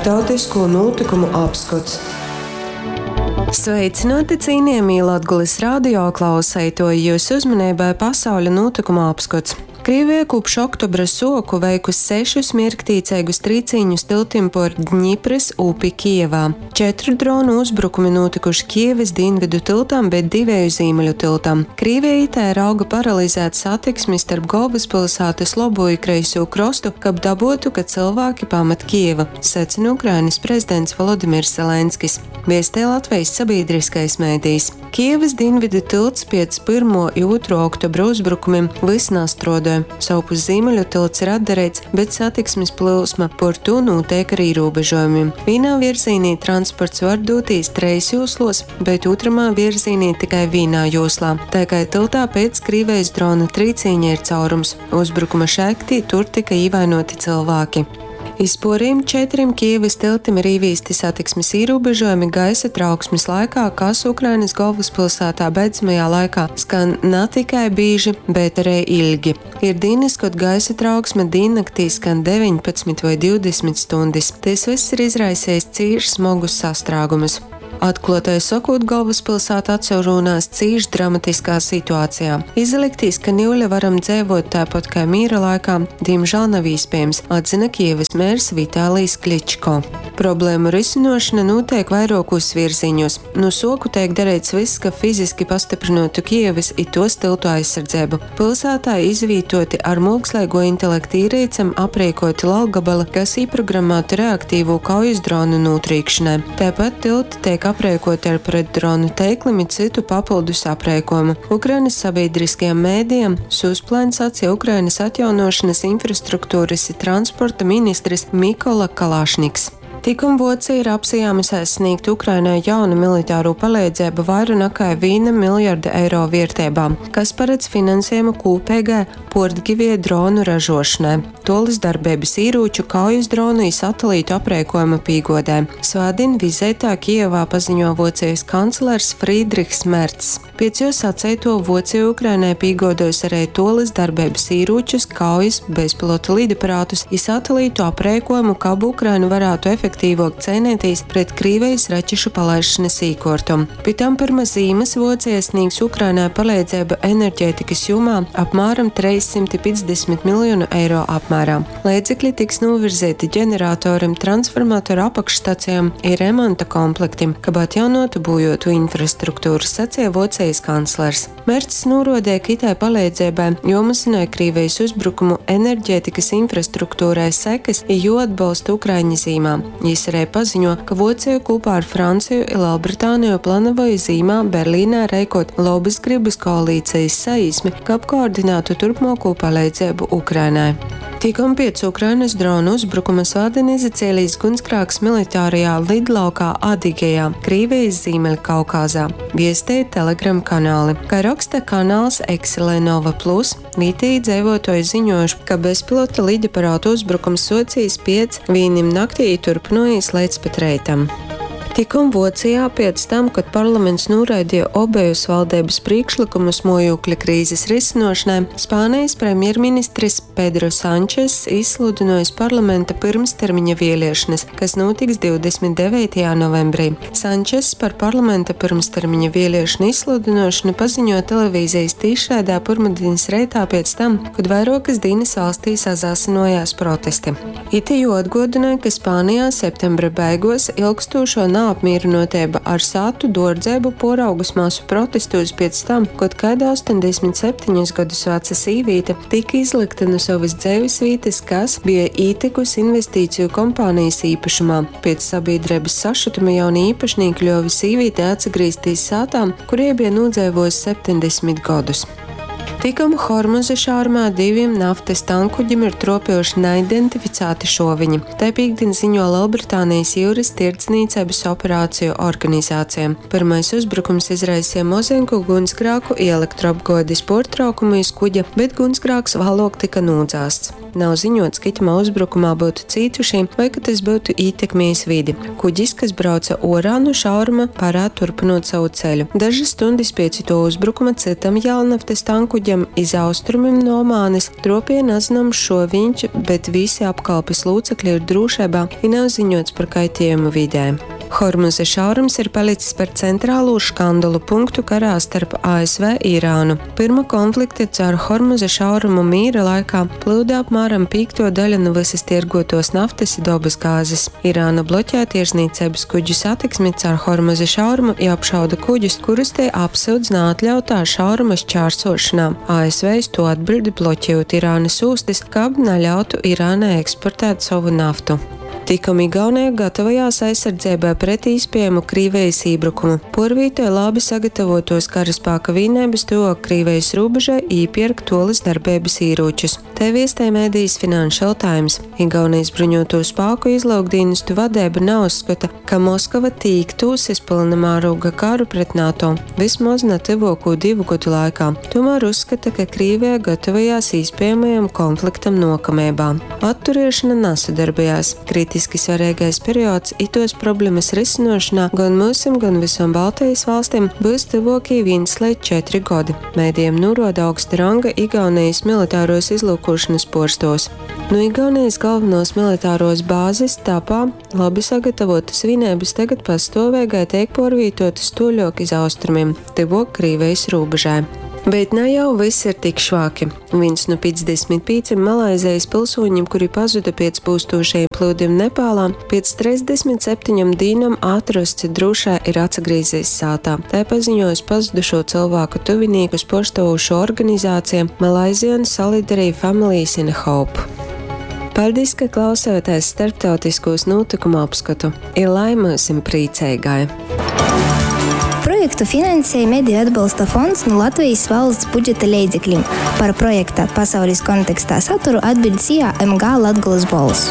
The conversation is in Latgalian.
Starptautisko nūtykumu apskots. Sveicināti cienījamie Latgulis radio klauseitoji, jūsu uzmanībai pasauļa nūtykuma apskots. Krievija kopš oktobra suoku veikusi sešus mierktīceigus trīcīņus tiltim por Dņipras upi Kijevā. Četru dronu uzbrukumi nūtykuši Kijevas dienvidu tiltam, bet divēju zīmeļu tiltam. Krievija itē rauga paralizēt satiksmi starp galvaspilsātas labo i kreisū krostu, kab dabuotu, ka cylvāki pamat Kijevu, secina Ukrainas prezidents Volodimirs Zelenskis, viestej Latvejis sabīdriskais medijs. Kijevas dienvidu tilts piec pyrmuo i ūtruo oktobra uzbrukumim vys nastruodoj, sovpus zīmeļu tilts ir atdareits, bet satiksmis plyusma por tū nūteik ar īrūbežuojumim. Vīnā vierzīnī transports var dūtīs treis jūsluos, bet ūtramā vierzīnī tikai vīnā jūslā, tai kai tyltā pēc Krīvejis drona trīcīņa ir caurums. Uzbrukuma šaļtī tur tyka īvainuoti cylvāki. Iz puorejim četrim Kijevys tyltim ir īvīsti satiksmis īrūbežuojumi gaisa trauksmis laikā, kas Ukrainys golvyspilsātā beidzamajā laikā skan na tikai bīži, bet ari ilgi. Ir dīnys, kod gaisa trauksme dīnnaktī skan 19 voi 20 stuņdis. Tys vyss ir izraisejs cīš smogus sastrāgumus. Atkluotai sokūt, golvyspilsāta atsarūnās cīš dramatiskā situacejā. Izaliktīs, ka niule varam dzeivuot taipat kai mīra laikā, dīmžāl nav īspiejams, atzyna Kijevys mērs Vitālijs Kličko. Problēmu rysynuošona nūteik vairuokūs vierzīņūs. Nu suoku teik dareits vyss, kab fiziski pastyprynuotu Kijevys i tuos tyltu aizsardzeibu. Pilsātā izvītuoti ar muoksleiguo intelekta īreicem apreikuoti laukgabali, kas īprogrammāti reaktīvū kaujis dronu nūtrīkšonai. Taipat tylti teik apreikuoti ar pretdronu teiklim i cytu papyldus apreikuojumu. Ukrainys sabīdriskajam medijam Suspline saceja Ukrainys atjaunuošonys, infrastrukturys i transporta ministris Mikola Kalašniks. Tikom Vuocija ir apsajāmusēs snīgt Ukrainai jaunu militarū paleidzeibu vaira nakai vīna miljarda eiro vierteibā, kas paredz finansiejumu kūpeigai puortgivieju dronu ražuošonai, tuolys darbeibys īrūču, kaujis dronu i satelītu apreikuojuma pīguodē, svātdīn vizeitā Kijevā paziņuo Vuocejis kanclers Frīdrihs Mercs. Piec juo saceituo, Vuocija Ukrainai pīguoduos ari tuolys darbeibys īrūčus, kaujis, bezpilota lidaparātus i satelītu apreikuojumu, kab Ukraina varātu efektīvuok ceineitīs pret Krīvejis raķešu palaišonys īkuortom. Pi tam pyrma zīmys Vuocija snīgs Ukrainai paleidzeibu enerģētikys jūmā apmāram 350 miljonu eiro apmērā. Leidzekli tiks nūvirzeiti ģeneratorim, transformatoru apakšstacejom i remonta komplektim, kab atjaunuotu būjuotu infrastrukturu, saceja Vuocejis kanclers. Mercs nūruodeja, ka itai paleidzeibai juomazynoj Krīvejis uzbrukumu enerģētikys infrastruktūrai sekys i juoatbolsta ukraiņi zīmā. Jis ari paziņuo, ka Vuoceja kūpā ar Franceju i Lelbritāneju planavoj zīmā Berlīnē reikuot lobys grybys koalīcejis saīsmi, kab koordinātu turpmuokū paleidzeibu Ukrainai. Tikom piec Ukrainys dronu uzbrukuma svātdien izacielīs gunsgrāks militārajā lidlaukā Adigejā, Krīvejis Zīmeļkaukāzā, viestej Telegram kanāli. Kai roksta kanāls Exilenova Plus, vītejī dzeivuotuoji ziņuojuši, ka bezpilota lidaparātu uzbrukums suocīs piec vīnim naktī i turpynuojīs leidz pat reitam. Tikom Vuocijā piec tam, kod parlaments nūraideja obejus valdeibys prīkšlykumus muojūkļa krīzis rysynuošonai, Spānejis premjerministris Pedro Sančess izsludynuojs parlamenta pyrmstermiņa vieliešonys, kas nūtiks 29. novembrī. Sančess par parlamenta pyrmstermiņa vieliešonu izsludynuošonu paziņuoja televīzejis tīšraidē pyrmadinis reitā piec tam, kod vairuokys dīnys valstī sasaasynuojās protesti. Ite juoatguodynoj, ka Spānijā septembra beiguos ilgstūšuo naapmīrynuoteiba ar sātu duordzeibu puoraugus masu protestūs piec tam, kod kaida 87 godus vaca sīvīte tika izlykta nu sovys dzeivisvītys, kas bija ītykusi investīciju kompānijas īpašumā. Piec sabīdreibys sašutuma jaunī īpašnīki ļuove sīvītei atsagrīztīs sātā, kur jei bija nūdzeivuojusi 70 godus. Tikom Hormuza šaurumā divim naftys tankuģim ir truopejuši naidentificāti šuoviņi. Tai pīktdin ziņo Lelbritānijas jiurys tirdznīceibys operāciju organizācija. Pyrmais uzbrukums izraiseja mozenku guņsgrāku i elektroapguodis puortraukumu iz kuģa, bet guņsgrāks vāluok tyka nūdzāsts. Nav ziņots, ka itamā uzbrukumā byutu cītušī voi ka tys byutu ītekmiejs vidi. Kuģis, kas brauca uorā nu šauruma, parād turpynuot sovu ceļu. Dažys stuņdis piec ituo uzbrukuma cytam jēlnaftys tankuģim kuģam iz austrumim nu Omānis truopieja nazynoms šuovīņš, bet vysi apkalpis lūcekli ir drūšeibā i nav ziņuots par kaitiejumu videi. Hormuza šaurums ir palics par centralū škandalu punktu karā starp ASV i Irānu. Pyrma konflikta caur Hormuza šaurumu mīra laikā plyuda apmāram pīktuo daļa nu vysys tierguotuos naftys i dobysgāzis. Irāna bloķē tirznieceibys kuģu satiksmi caur Hormuza šaurumu i apšauda kuģus, kurus tei apsyudz naatļautā šauruma šķārsuošonā. ASV iz tū atbiļd, bloķejūt Irānys ūstys, kab naļautu Irānai eksportēt sovu naftu. Tikom Igauneja gatavojās aizsardzeibai pret īspiejamu Krīvejis ībrukumu, puorvītoj labi sagatavotuos karaspāka vīneibys tyvuok Krīvejis rūbežai i īpierk tuolys darbeibys īrūčus. Tai viestej medijs Financial Times. Igaunejis bruņuotū spāku izlyukdīnestu vadeiba nauzskota, ka Moskova tīktūs iz pylna mārūga karu pret NATO, vysmoz na tyvuokū divu godu laikā, tūmār uzskata, ka Krīveja gatavojās īspiejamajam konfliktam nuokameibā. Atturiešona nasadarbojās. Kritiski svareigais periods ituos problemys rysynuošonā gon myusim, gon vysom Baltejis valstim byus tyvuokī vīns leidz četri godi, medijim nūruoda augsta ranga Igaunejis militaruos izlyukuošonys puorstuovs. Nu Igaunejis galvonuos militaruos bāzis Tapā labi sagatavotuos vīneibys tagad pastuoveigai teik puorvītuotys tuoļuok iz austrumim, tyvuok Krīvejis rūbežai. Bet na jau vyss ir tik švaki. Vīns nu 55 Malaizejis pylsūņim, kuri pazuda piec pūstūšajim plyudim Nepālā, piec 37 dīnom atrosts i drūšai ir atsagrīzīs sātā. Tai paziņuojusi pazudušū cylvāku tuvinīkus puorstuovūšuo organizācija Malaysian Solidarity Families in Hope. Paļdis, ka klausējāties starptautiskūs nūtykumu apskotu. I lai myusim prīceigai! Projektu finansej Mediju atbalsta fonds nu Latvejis valsts budžeta leidzeklim. Par projekta Pasaulis kontekstā saturu atbiļd SIA MG Latgolys Bolss.